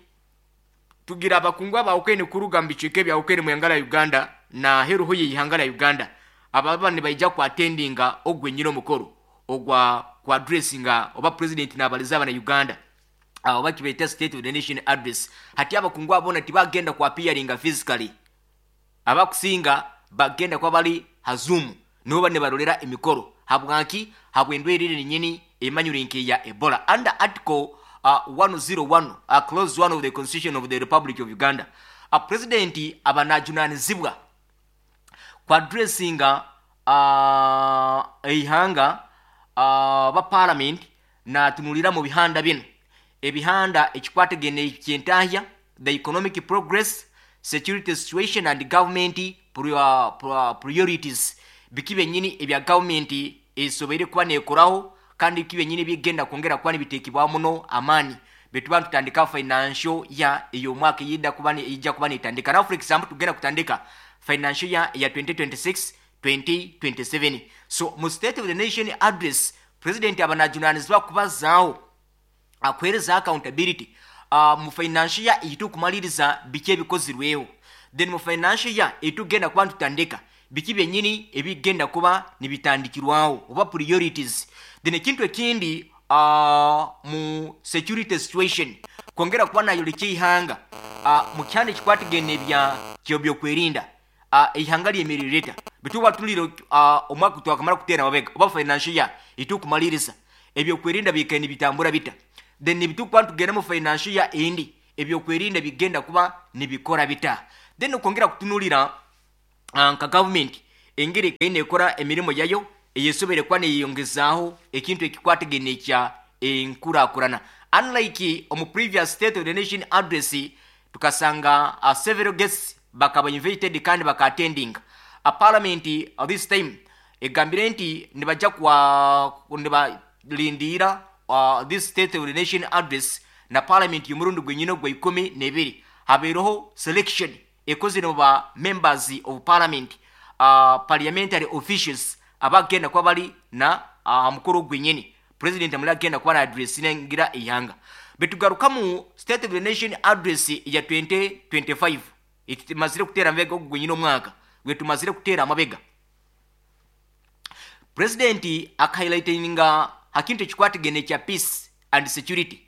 tugira abakungu abawukene kuruga mu bicweka ebyawukene mu ihanga lya Uganda na heruho y'ihanga lya Uganda, ababa nibaija kuattendinga ogwe nyine omukoro ogwa kuaddressinga oba president nabaliza abana Uganda, oba kibaita State of the Nation Address. Hati abakungu abona tibagenda kuappearinga physically, abakusinga bagenda kuba bali ha Zoom nibo bane barolera emikoro. Habwaki? Habw'endwaire eri nyini emanyire nk'eya Ebola. Under article 101 clause 1 of the Constitution of the Republic of Uganda, president aba najunanizibwa kuaddressinga eihanga ba parliament natunulira mu bihanda bino ebihanda ekikwatagene ekyentahya, the economic progress, security situation and government priorities, biki byenyini ebya government esoboire kuba nekoraho kandi biki byenyini byegenda kwongera kuba nibitekebwaho muno amaani. Betuba tutandika financial year ey'omwaka eyida kuba ijja kuba netandika. Now for example tugenda kutandika financial year ya 2026 2027. So mu State of the Nation Address president aba najunanizibwa kubazaaho akuhereza accountability, mu financial year eyitukumaliriza biki ebikozirweho, then mu financial year etugenda kuba ntutandika biki byenyini ebigenda kuba nibitandikirwaho oba priorities. Then ekintu ekindi, mu security situation, kwongera kuba nayoleka ihanga Mu kyanda ekikwatagene ebya kyebyokwerinda, ihanga lyemerire lita bituba tulire omwaka twakamara kuteera mabega oba financial year itukumaliriza, ebyokwerinda biikaire nibitambura bita? Then nibitukuba nitugenda mu financial year endi, ebyokwerinda bigenda kuba nibikora bita? Then okwongera kutunulira nka government engeri ekaire nekora emirimo yayo eyesobere kuba neyeyongezaaho ekintu ekikwatagene ekya enkurakurana. Unlike omu previous State of the Nation Address, tukasanga several guests bakaba invited kandi baka attending a parliament. This time egambire nti nibajja kwa nibalindiira this State of the Nation Address na parliament y'omurundi gwenyine ogwa 12 habaireho selection ekozire mu ba members of parliament, parliamentary officials abagenda kuba bali na aha mukoro gwenyini president amuli agenda kuba na addressingira ihanga. Betugarukamu State of the Nation Address ya 2025 etumazire kuteera amabega, ogu gwenyine omwaka gwetumazire kuteera amabega, president akahighlightinga ha kintu ekikwatagene ekya peace and security.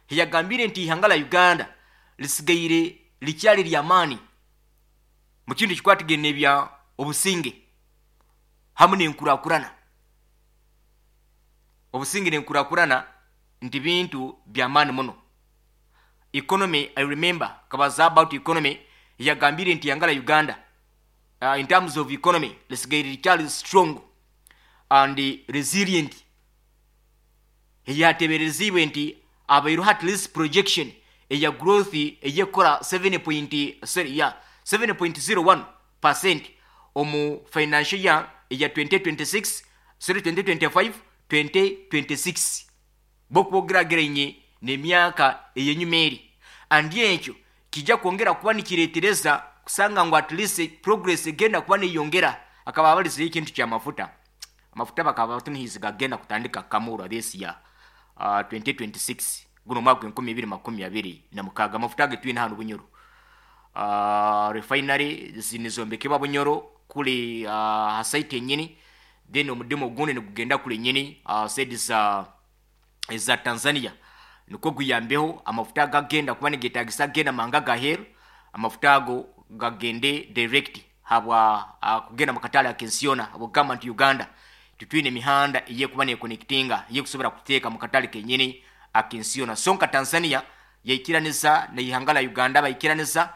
Yagambire nti ihanga la Uganda lisigaire likyali lyamaani mu kintu ekikwatagene ebya obusinge hamu n'enkurakurana. Obusinge n'enkurakurana nti bintu byamaani muno. Economy, I remember kabaza about economy, yagambire nti ihanga la Uganda in terms of economy lisigaire likyali strong and resilient. Yateberezibwe nti abaireho at least projection eya growth eyekora 7 point, sorry, yeah, 7.01% omu financial year eya 2026, sorry, 2025 2026, bokwogeragerainye n'emyaka eyenyuma eri. And ekyo kijja kwongera kuba nikiretereza kusanga ngu at least progress egenda kuba neyongera. Akaba abalizeyo ekintu kyamafuta. Amafuta bakaba batunihizi gagenda kutandika kamurwa this year, 2026, guno mwaka 2026. Amafuta ge twine hano Bunyoro, refinery zinizombekebwa Bunyoro kuli ha site enyini, then omudimu ogundi nigugenda kuli nyini side za eza Tanzania, nikwo guyambeho amafuta gagenda kuba nigetagisa agenda manga gaheru, amafuta ago gagende direct habwa kugenda mukatale akensiona, habwokugamba nti Uganda tutwine emihanda eyekuba neconnectinga eyekusobora kuteeka mukatale kenyini akensiona. So nka Tanzania yaikiraniza neihanga la Uganda, baikiraniza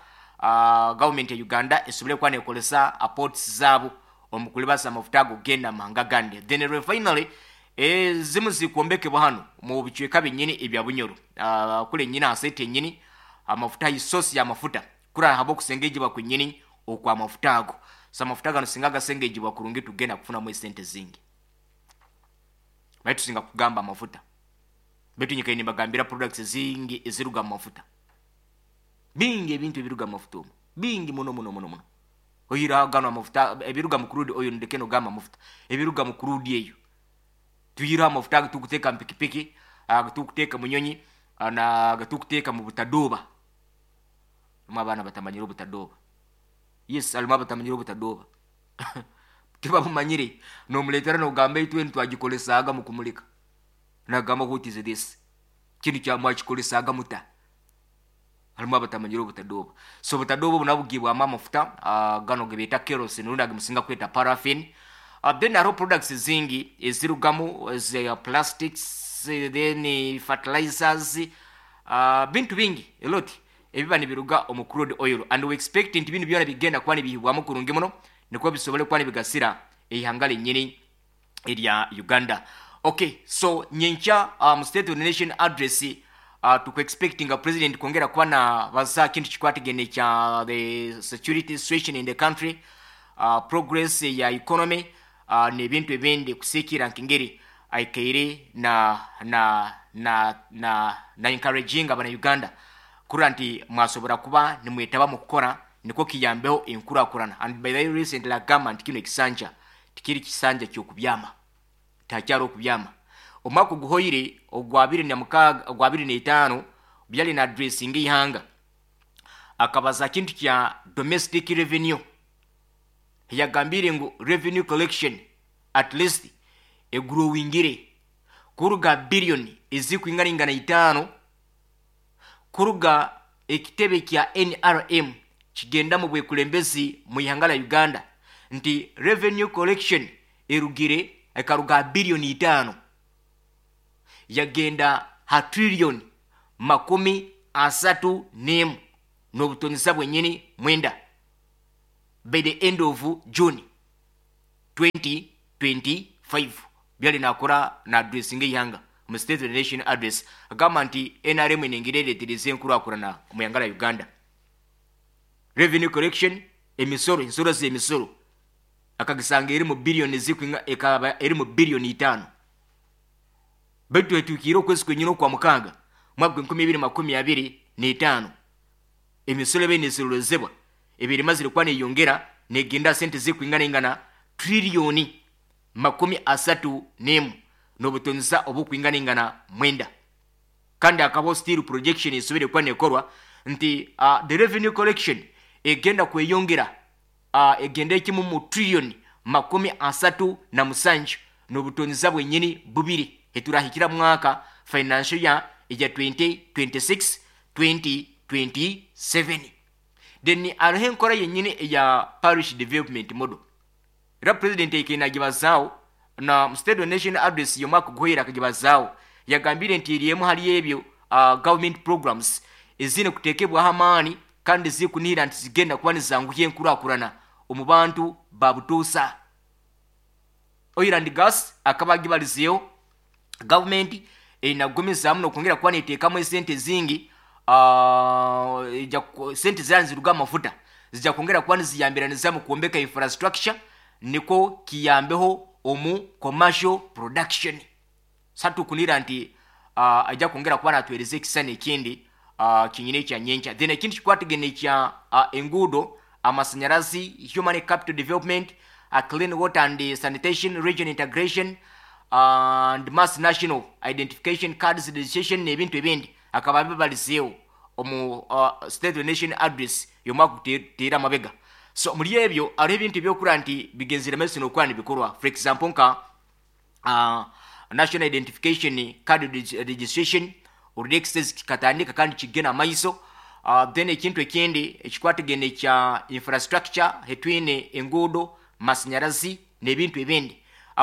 government ya Uganda esobole kuba nekolesa ports zaabo omu kulibasa amafuta ago genda mahanga gandi. Then refinery ezimu zikwombekebwa hano mu bicweka binyini ebya Bunyoro, kule nyini asete enyini amafuta, isosi y'amafuta kura habo kusengejebwa kwenyini okwa amafuta ago. So amafuta gano singa gasengejebwa kurungi, tugenda kufunamu esente zingi. Baitu tusinga kugamba amafuta, baitu nyikaine bagambira products zingi eziruga mu mafuta, bingi ebintu ebiruga mu mafuta omu bingi muno muno muno muno. Oyira gano amafuta ebiruga mu crude oil, ndeke nogamba amafuta ebiruga mu crude eyo, tuyira amafuta agatukuteeka mu pikipiki, agatukuteeka mu nyonyi, na agatukuteeka mu butadoba. Alimu abaana batamanyire obutadoba. Yes, alimu abatamanyire obutadoba, tibabumanyire. Nomuleetera nogamba itwe ntwagikolesaaga mu kumulika, nagamba, "What is this? Kintu kya mwakikolesaaga muta?" Halimu abatamanyire obutadoba. So obutadoba obu nabugibwamu amafuta gano gebeeta kerosene, rundi agemusinga kweta paraffin. Then hariho products zingi ezirugamu za plastics, then fertilizers, bintu bingi a lot ebiba nibiruga omu crude oil. And we expect nti binu byona bigenda kuba nibihibwamu kurungi muno, nikwo bisobole kuba nibigasira eihanga lenyini erya Uganda. Okay, so nyenkya State of the Nation Address, tukuexpectinga president kwongera kuba na baza kintu kikwatagene kya the security situation in the country, progress ya economy, n'ebintu ebindi kusiikira nk'engeri aikaire na encouraging abana Uganda kurora nti mwasobora kuba nimwetaba mu kukora nikwo kiyambeho enkurakurana. And by the way, recently agamba nti kino ekisanja tikiri kisanja kyokubyama, takyari okubyama. Omwaka oguhoire ogwa 2006, ogwa 25, byali na addressing ihanga, akabaza kintu kya domestic revenue. Yagambire ngu revenue collection at least egrowingire kuruga billion ezikwinganingana 5 kuruga Ekitebe kya NRM kigenda mu bwekulembezi mu ihanga lya Uganda nti revenue collection erugire ekaruga 5 billion yagenda ha trillion 31 n'obutonesa bwenyini 9 by the end of June 2025. Byali nakora na addressinga ihanga mu State of the Nation Address, agamba nti NRM enengeri eretereza enkurakurana mu ihanga lya Uganda. Revenue collection, emisoro, ensoro z'emisoro akagisanga eri mu biliyoni zikuinga, ekaba eri mu 5 billion, baitu etukiire okwezi kwenyini okwa mukaaga mwaka 2025, emisoro ebe nesorozebwa ebiri mazire kuba neyongera negenda sente zikuingana ingana trillion 31 n'obutonesa obukwingana ingana 9. Kandi akabaho still projection esobere kuba nekorwa nti the revenue collection egenda kweyongera, egenda ekimu mu trillion 37 n'obutonesa bwenyini 2 eturahikira mwaka financial year eja 2026 2027. Then hariho enkora yenyini eya parish development model, era president ekenagibazaawo na mu State of Nation Address y'omwaka guhwera. Akagibazaawo, yagambire nti eri hali ebyo government programs ezine kutekebwaho amaani kandi zikunihira nti zigenda kuba nizanguhya enkurakurana omu bantu babutuusa. Oil and gas akaba agibalizeeho, gavumenti enagumizaamu nokwongera kuba neteekamu esente zingi, sente zira niziruga amafuta zijja kwongera kuba niziyambiraniza mu kwombeka infrastructure, niko kiyambeho omu commercial production. Satukunira nti ajja kwongera kuba natwereza ekisani ekindi kinyine ekyanyenkya. Then ekindi kikwatagene ekya enguudo, amasanyarazi, human capital development, clean water and sanitation, region integration and mass national identification cards registration n'ebintu ebindi akaba bibalizeewo omu State of the Nation Address y'omwaka guteera amabega. So muri ebyo hariho ebintu ebyokura nti bigenzere maiso n'okuba nibikorwa, for example nka national identification card registration already kikatandika kandi kigenda amaiso. Then ekintu ekindi ekikwatagene kya infrastructure, hetwine enguudo, masanyarazi n'ebintu ebindi,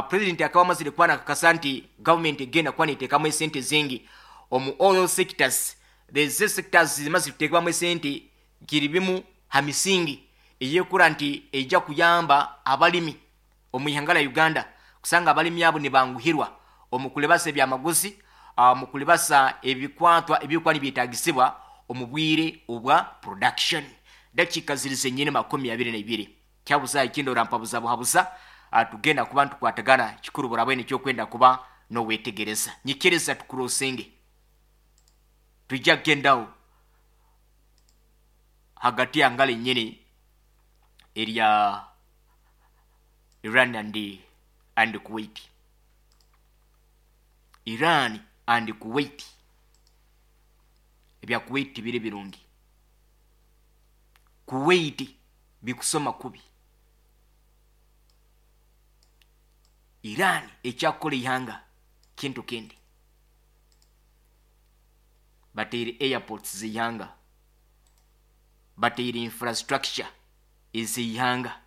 president akaba amazire kuba nakakasa nti government egenda kuba neteekamu esente zingi omu all sectors. These sectors zimaze kuteekebwamu esente kiri bimu ha misingi eyekura nti ejja kuyamba abalimi omu ihanga lya Uganda, kusanga abalimi abo nibanguhirwa omu kulebasa ebyamaguzi, mu kulebasa ebikwatwa ebikuba nibyetagisibwa omu bwire obwa production. Dakiika ziri zenyini 22, kyabuza ekindi orampabuza buhabuza, tugenda kuba ntukwatagana kikuru burabwene ekyokwenda kuba nowetegereza. Nyikiriza tukurosenge, tujja kugendaho hagati ya ngalo enyini erya Iran and Kuwait. Iran and Kuwait, ebya Kuwait biri birungi, Kuwait bikusoma kubi. Iran ekyakukola ihanga kintu kindi, bateire airports zeihanga, bateire infrastructure ezeihanga.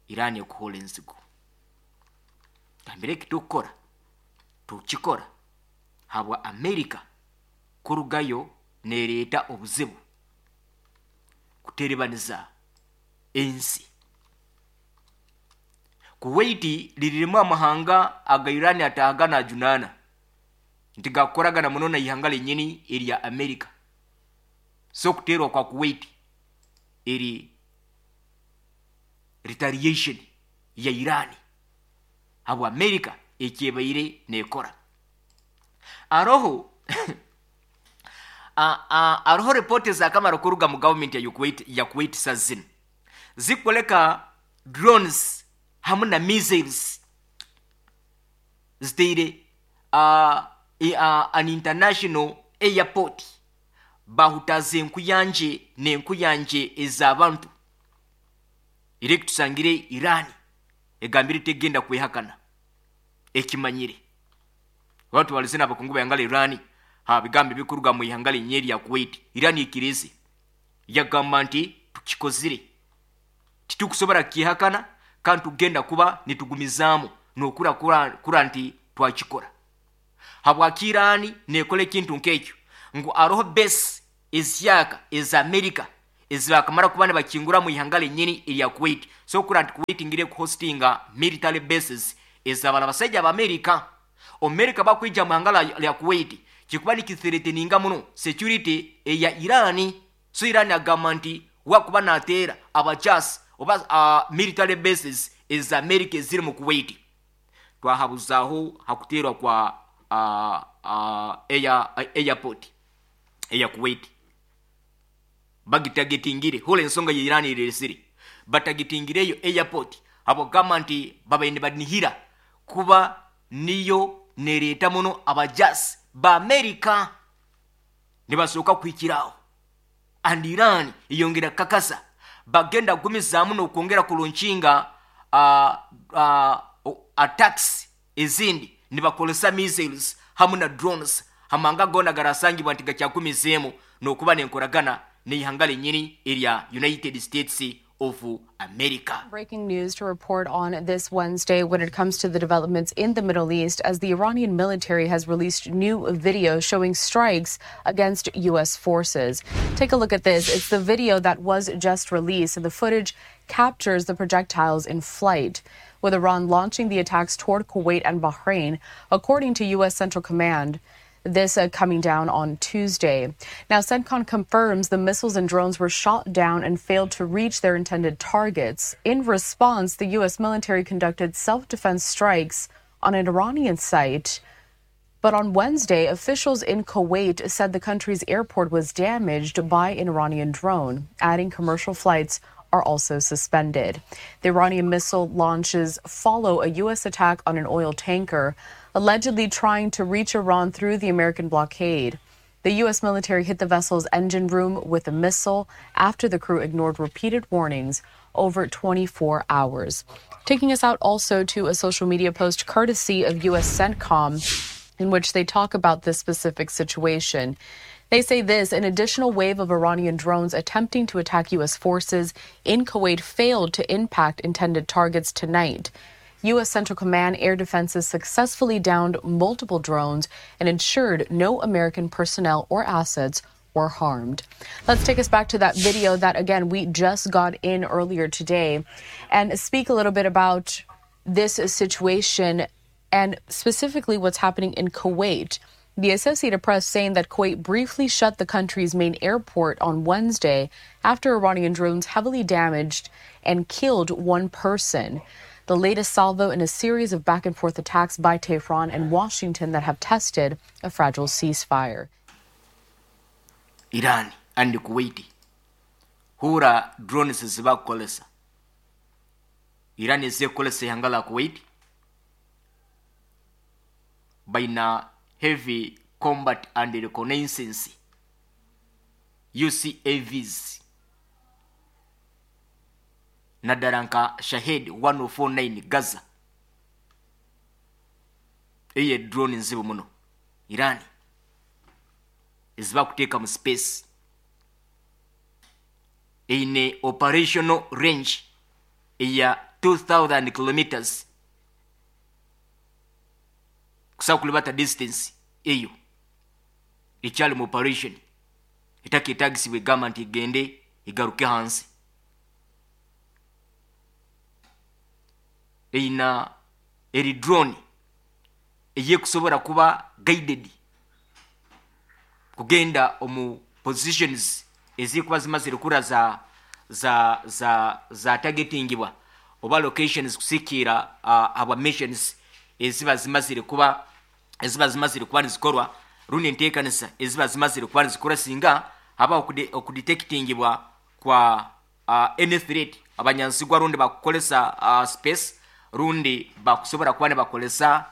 Iran ekuhola enzigu, gambire eki tukukora tukikora habwa Amerika kurugayo nereeta obuzibu kuterebaniza ensi. Kuwait liririmu amahanga aga Iran atahaga najunana nti gakukoragana muno na ihanga lenyini erya Amerika. So kuterwa kwa Kuwait eri retaliation ya Iran habwa Amerika ekyebaire nekora. Aroho aroho ripoti zakamara kuruga mu government ya Kuwait, ya Kuwait sazino zikoleka drones hamwe na missiles ziteire an international airport, bahutaza enkuyanje n'enkuyanje ez'abantu. Ere tusangire Iran egambire tegenda kwehakana, ekimanyire. Watu balize n'abakungu bayangala Iran Ha bigambo ebikuruga mu ihanga linye lya Kuwait. Iran ikirize yagamba nti tukikozire, titukusobora kukihakana, kandi tugenda kuba nitugumizaamu nokura kura nti twakikora. Habwaki Iran nekola ekintu nk'ekyo? Ngu aroho base ezyaka eza Amerika ezibakamara kuba nibakingura mu ihanga lenyini erya Kuwait. So kura nti Kuwait ngire kuhostinga military bases ezabala abasajja ba Amerika. Amerika bakwija mu ihanga lya Kuwait kikuba nikithreateninga muno security eya Iran. So Iran agamba nti wakuba nateera abajasi oba military bases eza Amerika eziri mu Kuwait. Twahabuzaho hakuterwa kwa airport eya Kuwait bagitagetingire. Hula ensonga ya Iran iresire batagetingireyo airport habwokugamba nti babaine banihira kuba niyo nereeta muno abajasi ba Amerika nibasooka kuhikiraho. And Iran eyongera kakasa bagenda kugumizaamu n'okwongera kulonkinga attacks ezindi nibakozesa missiles hamu na drones hamanga gona garasangibwa nti gakyakumizeemu n'okuba nenkoragana n'ihanga lenyini erya United States of America. Breaking news to report on this Wednesday when it comes to the developments in the Middle East, as the Iranian military has released new video showing strikes against U.S. forces. Take a look at this. It's the video that was just released, and the footage captures the projectiles in flight, with Iran launching the attacks toward Kuwait and Bahrain, according to U.S. Central Command. This coming down on Tuesday. Now, CENTCOM confirms the missiles and drones were shot down and failed to reach their intended targets. In response, the U.S. military conducted self-defense strikes on an Iranian site. But on Wednesday, officials in Kuwait said the country's airport was damaged by an Iranian drone, adding commercial flights are also suspended. The Iranian missile launches follow a U.S. attack on an oil tanker, allegedly trying to reach Iran through the American blockade. The U.S. military hit the vessel's engine room with a missile after the crew ignored repeated warnings over 24 hours. Taking us out also to a social media post courtesy of U.S. CENTCOM, in which they talk about this specific situation. They say this: an additional wave of Iranian drones attempting to attack U.S. forces in Kuwait failed to impact intended targets tonight. U.S. Central Command air defenses successfully downed multiple drones and ensured no American personnel or assets were harmed. Let's take us back to that video that, again, we just got in earlier today and speak a little bit about this situation and specifically what's happening in Kuwait. The Associated Press saying that Kuwait briefly shut the country's main airport on Wednesday after Iranian drones heavily damaged and killed one person. The latest salvo in a series of back and forth attacks by Tehran and Washington that have tested a fragile ceasefire. Iran and Kuwait hura drones zibakukolesa. Iran ezekukolesa ihanga la Kuwait baina heavy combat and reconnaissance UCAVs naddala nka Shahed 149 Gaza. Eyo drone nzibu muno Iran ezibakuteeka mu space, eine operational range eya 2000 kilometers kusobola kulibata distance eyo ekyali mu operation etaketagisibwa egamba nti egende egaruke hansi. Eina eri drone eyekusobola kuba guided kugenda omu positions ezikuba zimazire kura za targetingibwa oba locations kusikira aba missions eziba zimazire kuba nizikorwa rundi enteekanisa eziba zimazire kuba nizikora singa haba okudetectingibwa kwa any threat abanyansigwa rundi bakukolesa space rundi bakusobola kuba nibakolesa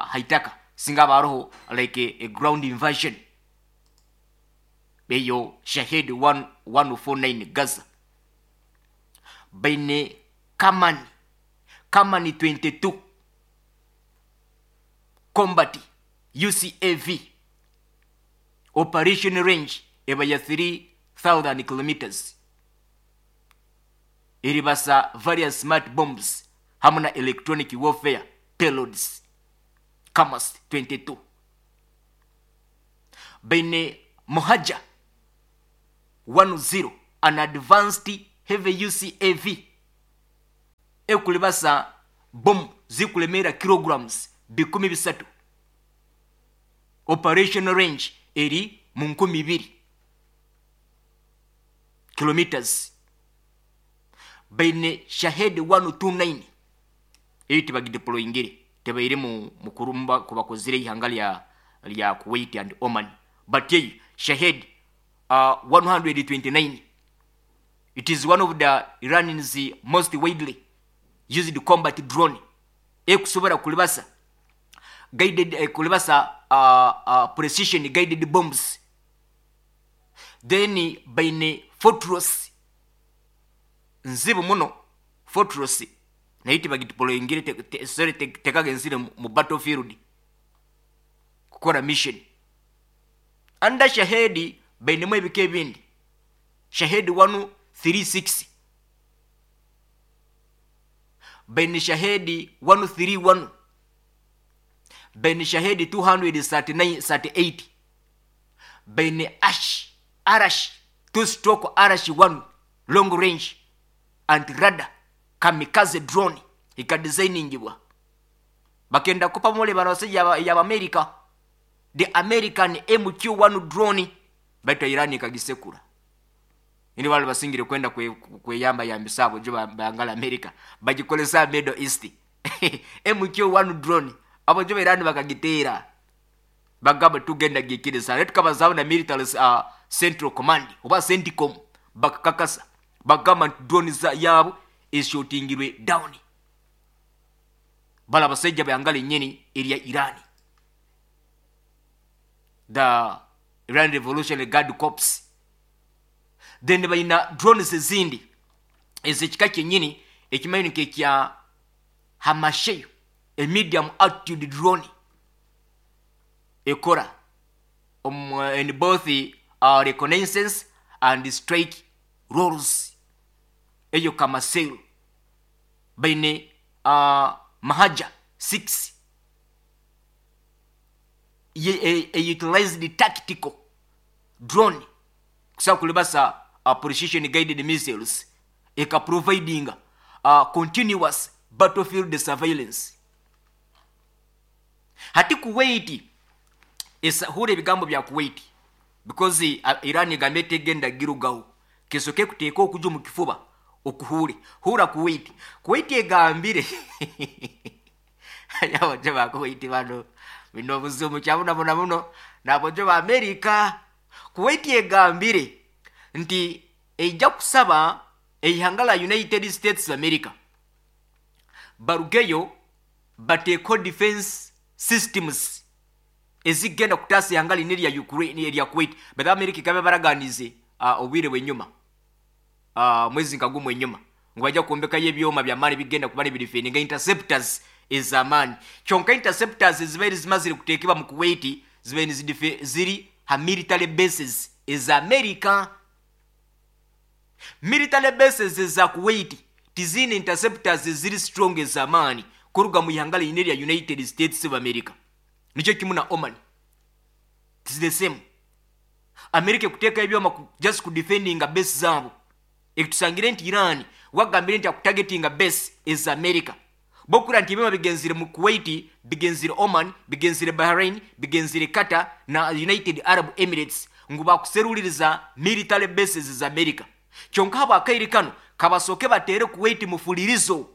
haitaka singa baroho like a ground invasion. Eyo Shahed 1049 Gaza baine Kamani 22 combat UCAV Operation range eba ya 3000 kilometers. Eribasa various smart bombs hamu na electronic warfare payloads. Kamas 22. Baine Mohajer 10, an advanced heavy UCAV ekulibasa bomu zikulemera kilograms 3,000. Operation range eri mu 2,000 kilometers. Baine Shahed 129 eyo tibagideployingire, tebaire mu mukurumba kubakozire ihanga lya Kuwait and Oman, but eyo Shahed 129, it is one of the Iran's most widely used combat drone ekusobola kulibasa guided, kulibasa precision guided bombs. Then baine Fortress nzibu muno, Fortress nayo tibagideployingire, sorry, tekagenzire mu battlefield kukora mission. Under Shahedi bainemu ebika ebindi, Shahed 136, baine Shahedi 131, baine Shahedi 239 38, baine Ash Arash 2 stroke Arash 1 long range anti radar kamikaze drone ikadesigningibwa bakenda kupa mole bano basajja ya America, the American MQ-1 drone, baita Iran ikagisekura. Ini wale basingire kwenda kweyamba yambisa abo jo bangala America bagikolesa Middle East. MQ-1 drone abo jo Iran bakagitera bagamba tugenda gikiriza letu kabazawo na military central command oba CENTCOM bakakakasa bagamba drone za yabo ishotingirwe down. Bala basajja bayangala nyeni eri Iran, the Iran Revolutionary Guard Corps. Then balina drones ezindi ezekika kyenyini ekimanyi kya Hamasheyo, a medium altitude drone ekora in both reconnaissance and strike roles. Eyo Kamasero baine Mohajer 6 a utilized tactical drone kusa kulibasa precision guided missiles eka providing continuous battlefield surveillance. Hati Kuwait hure ebigambo bya Kuwait because Iran egambye tegenda girugaho kesoke kuteeka okuja mu kifuba okuhure hura Kuwait. Kuwait egambire yabaje ba Kuwait bano bino buzibu kyabona bona muno nabojo ba America. Kuwait egambire nti ejja kusaba eihanga la United States of America barugeyo bateeko defense systems ezigenda kutaasa ihanga lino erya Ukraine erya Kuwait. But America ikabe baraganize obwire bw'enyuma mwezi nka gumu enyuma ngu bajja kwombekayo ebyoma by'amaani bigenda kuba nibidefendinga interceptors ez'amaani. Kyonka interceptors ezibaire zimazire kuteekebwa mu Kuwait zibaire ziri ha military bases eza America. Military bases eza Kuwait tizine interceptors eziri strong ez'amaani kuruga mu ihanga lino erya United States of America. Nikyo kimu na Oman, it's the same. America kuteeka ebyoma just ku defendinga base zaabo. Ekutusangire nti Iran wagambire nti akutargetinga base eza America. Bokura nti ebyoma bigenzire mu Kuwait, bigenzire Oman, bigenzire Bahrain, bigenzire Qatar na United Arab Emirates ngu bakuseruliriza military bases za America. Kyonka habo akaire kano kabasoke batere Kuwait mufulirizo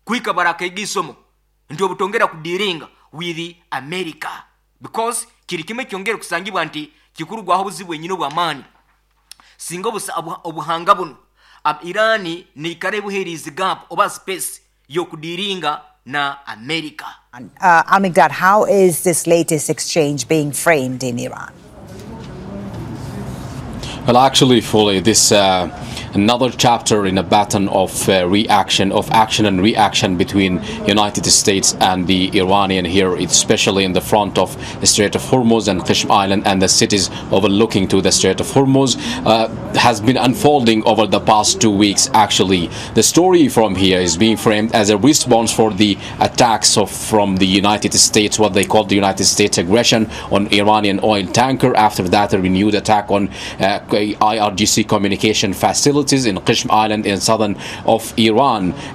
kuika barakaiga isomo nti obutongera kudiringa with America because kiri kimwe kyongere kusangibwa nti kikurugwaho obuzibu bwenyini obw'amaani singa obuhanga buno Irani neikara ebuherizi gap oba space yokudiringa na America. Al-Miqdad, how is this latest exchange being framed in Iran? Well, actually, fully, this Another chapter in a pattern of reaction, of action and reaction between United States and the Iranian here, especially in the front of the Strait of Hormuz and Qeshm Island and the cities overlooking to the Strait of Hormuz, has been unfolding over the past 2 weeks. Actually, the story from here is being framed as a response for the attacks from the United States, what they call the United States aggression on Iranian oil tanker. After that, a renewed attack on IRGC communication facilities in Qeshm Island in southern of Iran.